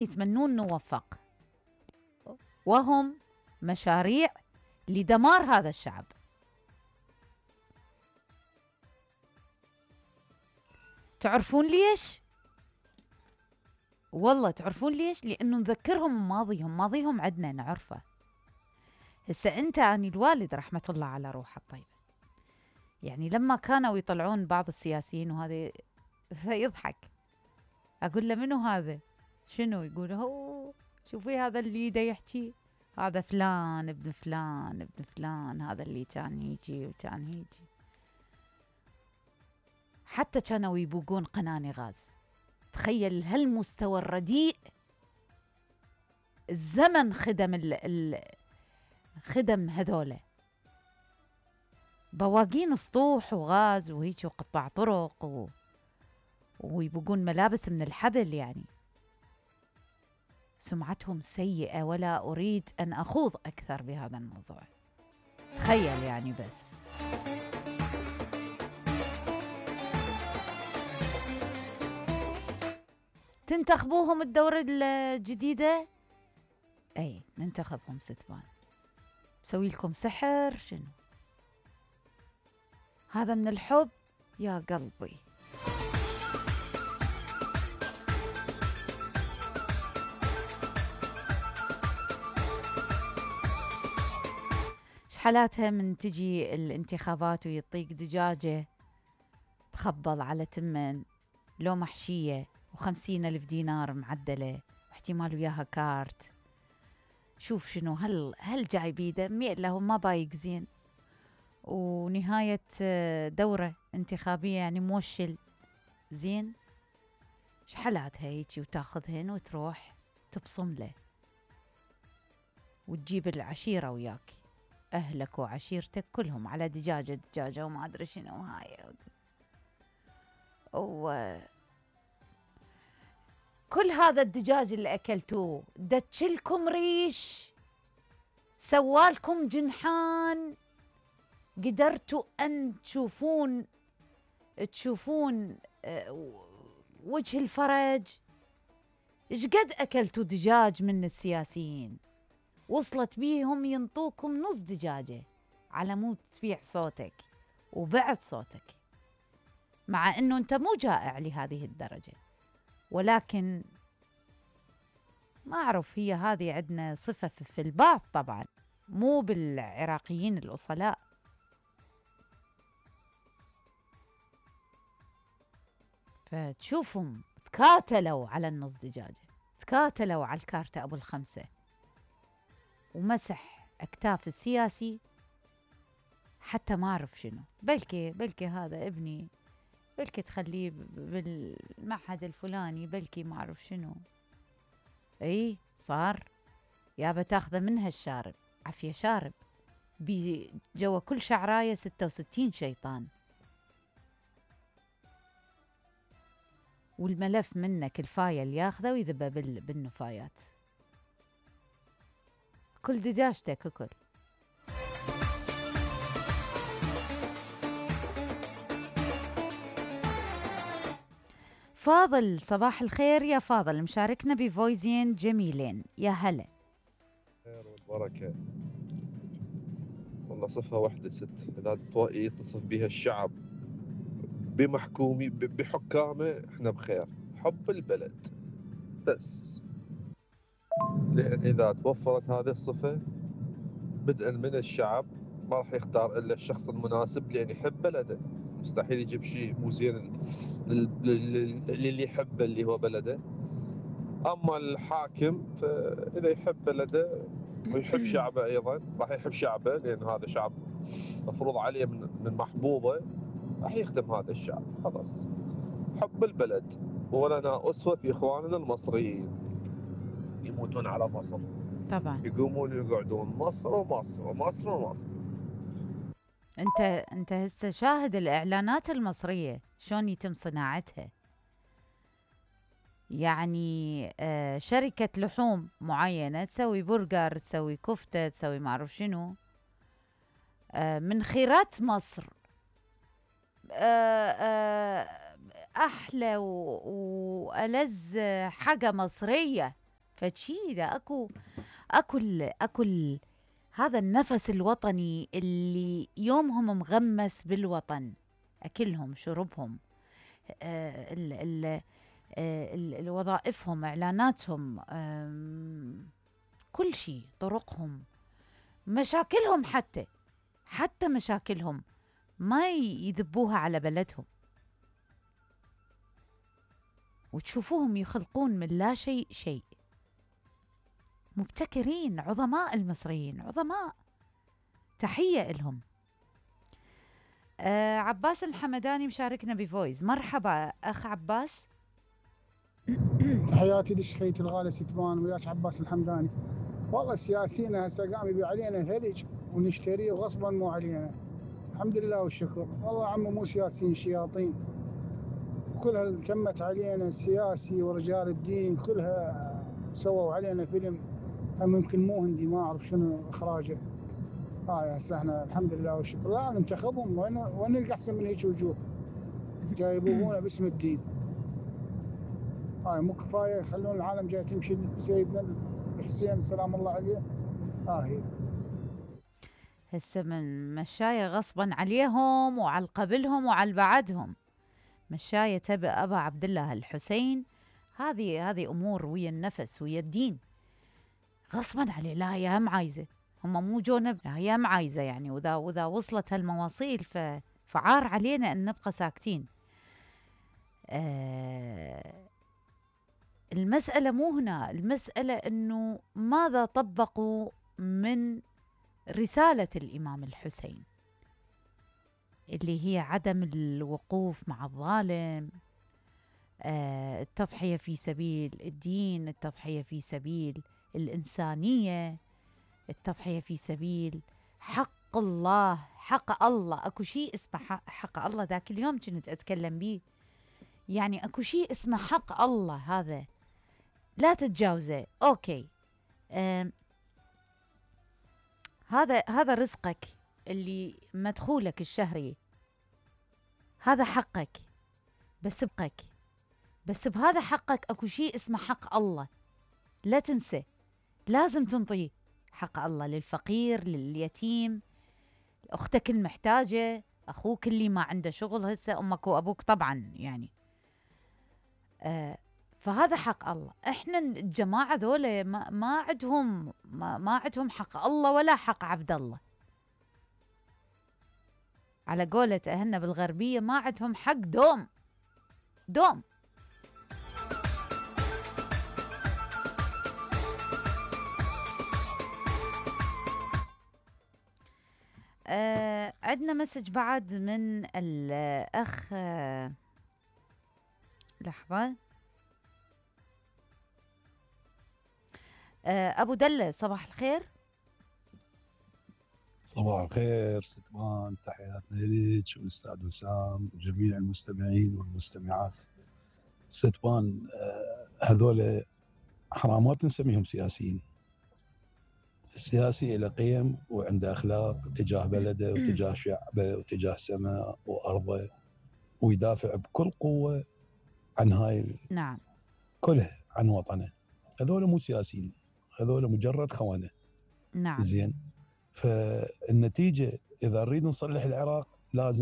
يتمنون نوفق، وهم مشاريع لدمار هذا الشعب. تعرفون ليش؟ والله تعرفون ليش؟ لأنه نذكرهم ماضيهم، ماضيهم عدنا نعرفه. هسه أنت أني الوالد رحمة الله على روحه الطيبة، يعني لما كانوا يطلعون بعض السياسيين وهذا فيضحك، أقول له منو هذا؟ شنو؟ يقول هو شوفي هذا اللي دا يحكي، هذا فلان ابن فلان ابن فلان، هذا اللي كان يجي وكان يجي. حتى كانوا يبوقون قناني غاز. تخيل هالمستوى الرديء. الزمن خدم هذولا بواقين سطوح وغاز وهيك وقطع طرق ويبقون ملابس من الحبل. يعني سمعتهم سيئة، ولا أريد أن أخوض أكثر بهذا الموضوع. تخيل يعني بس. تنتخبوهم الدورة الجديدة؟ أي ننتخبهم ستبان. بسوي لكم سحر شنو؟ هذا من الحب يا قلبي. شحالاتها من تجي الانتخابات ويطيق دجاجة تخبل على تمن لو محشية و50,000 دينار معدلة واحتمال وياها كارت. شوف شنو هل جاي بيده له ما بايق زين، ونهاية دورة انتخابية يعني موشل زين. شحالاتها هيجي وتاخذهن وتروح تبصم له وتجيب العشيرة وياك، أهلك وعشيرتك كلهم على دجاجة وما أدري شنو هاي. كل هذا الدجاج اللي أكلتوه دتشلكم ريش، سوالكم جنحان، قدرتوا أن تشوفون وجه الفرج. إيش قد أكلتوا دجاج من السياسيين وصلت بيهم ينطوكم نص دجاجة على مود تبيع صوتك وبعت صوتك، مع أنه أنت مو جائع لهذه الدرجة. ولكن ما أعرف، هي هذه عندنا صفة في البعض طبعا، مو بالعراقيين الأصلاء. فتشوفهم تكاتلوا على النص دجاجة، تكاتلوا على الكارتة أبو الخمسة، ومسح أكتاف السياسي حتى ما أعرف شنو. بلكي هذا ابني، بلكي تخليه بالمعهد الفلاني، بلكي ما أعرف شنو. اي صار يابا تاخذه منها الشارب، عفية شارب جوا كل شعراية 66 شيطان، والملف منك الفايل ياخذه ويذبه بالنفايات. كل دجاجتك كل. فاضل صباح الخير يا فاضل، مشاركنا بفويزين جميلين. يا هلا. خير والبركة. والله صفة واحدة ست إذا يتصف بها الشعب بحكامه احنا بخير، حب البلد بس. لأن إذا توفرت هذه الصفة بدءا من الشعب ما راح يختار إلا الشخص المناسب لأن يحب بلده. مستحيل يجيب شيء مو زين للي يحبه اللي هو بلده. أما الحاكم فإذا يحب بلده ويحب شعبه أيضا راح يحب شعبه، لأن هذا شعب مفروض عليه من محبوبه، راح يخدم هذا الشعب. خلاص حب البلد. ولنا أسوة في إخواننا المصريين يموتون على مصر طبعا يقومون ويقعدون مصر ومصر ومصر ومصر. انت هسه شاهد الاعلانات المصريه شلون يتم صناعتها. يعني شركه لحوم معينه تسوي برجر، تسوي كفته، تسوي ما اعرف شنو، من خيرات مصر، احلى والذ حاجه مصريه فشي اذا اكو هذا النفس الوطني اللي يومهم مغمس بالوطن، اكلهم، شربهم، وظائفهم، اعلاناتهم، كل شيء، طرقهم، مشاكلهم، حتى مشاكلهم ما يذبوها على بلدهم، وتشوفوهم يخلقون من لا شيء شيء. مبتكرين، عظماء المصريين، عظماء، تحية إلهم. عباس الحمداني مشاركنا بفويس. مرحبا أخ عباس. تحياتي لشخيتي الغالي ستبان، وياك عباس الحمداني. والله السياسيين هسه قام يبيع علينا ثلج ونشتريه غصبا مو علينا. الحمد لله والشكر. والله عمو مو سياسيين، شياطين كلها تمت علينا، السياسي ورجال الدين كلها سووا علينا فيلم، هم يمكن مو هندي، ما اعرف شنو اخراجه. هاي هسه احنا الحمد لله والشكر لا ننتخبهم، وين نلقى احسن من هيك وجوه جاي يبوبونا باسم الدين. هاي مو كفايه يخلون العالم جاي تمشي سيدنا الحسين سلام الله عليه. هي هسه من مشاية غصبا عليهم وعلى قبلهم وعلى بعدهم، مشاية تبع أبا عبد الله الحسين. هذه أمور ويا النفس ويا الدين، غصبا عليه. لا هي هم عايزة، هم مو جونا، لا هي هم عايزة يعني. وإذا وصلت هالمواصيل فعار علينا أن نبقى ساكتين. المسألة مو هنا، المسألة أنه ماذا طبقوا من رسالة الإمام الحسين، اللي هي عدم الوقوف مع الظالم، التضحية في سبيل الدين، التضحية في سبيل الإنسانية، التضحية في سبيل حق الله. حق الله، أكو شيء اسمه حق الله. ذاك اليوم كنت أتكلم به، يعني أكو شيء اسمه حق الله، هذا لا تتجاوزه. أوكي، هذا رزقك اللي مدخولك الشهري، هذا حقك، بس بهذا حقك اكو شيء اسمه حق الله، لا تنسى، لازم تنطيه حق الله للفقير، لليتيم، اختك المحتاجة، اخوك اللي ما عنده شغل، هسه امك وابوك طبعا يعني. فهذا حق الله. احنا الجماعة ذولا ما عندهم حق الله ولا حق عبد الله. على قولة أهلنا بالغربية، ما عندهم حق دوم. عندنا مسج بعد من الأخ، لحظة، أبو دلة. صباح الخير. صباح الخير ستمان، تحياتنا لك والأستاذ وسام وجميع المستمعين والمستمعات. ستمان، هذول حرامات نسميهم سياسيين. السياسي له قيم وعنده أخلاق تجاه بلده وتجاه شعبه وتجاه سماء وأرضه، ويدافع بكل قوة عن هاي نعم كلها، عن وطنه. هذول مو سياسيين، هذول مجرد خونة. نعم. زين، فالنتيجة إذا نريد نصلح العراق لازم